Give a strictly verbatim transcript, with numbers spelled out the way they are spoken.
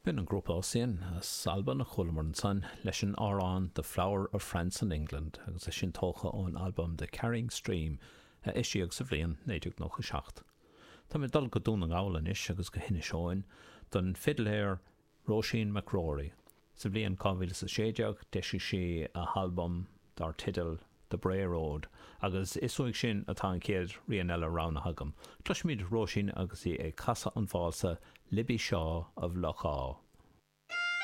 B'in an grúpa Ossian as Albain a chualamar ansan leis an amhrán The Flower of France and England agus é sin tógtha ón albam The Carrying Stream a eisíodh sa bhliain naoi déag nócha seacht. Tá mé dul go Dún na nGall anois agus go hInis Eoghain don fidléir Róisín McGrory. Sa bhliain dhá mhíle is a sé déag d'eisigh sí a halbam dar teideal The Bray Road agus is uaidh sin atá an chéad rian eile roghnaithe agam. Cloisfimid Róisín agus í ag casadh an válsa Libby Shaw of Loch Á.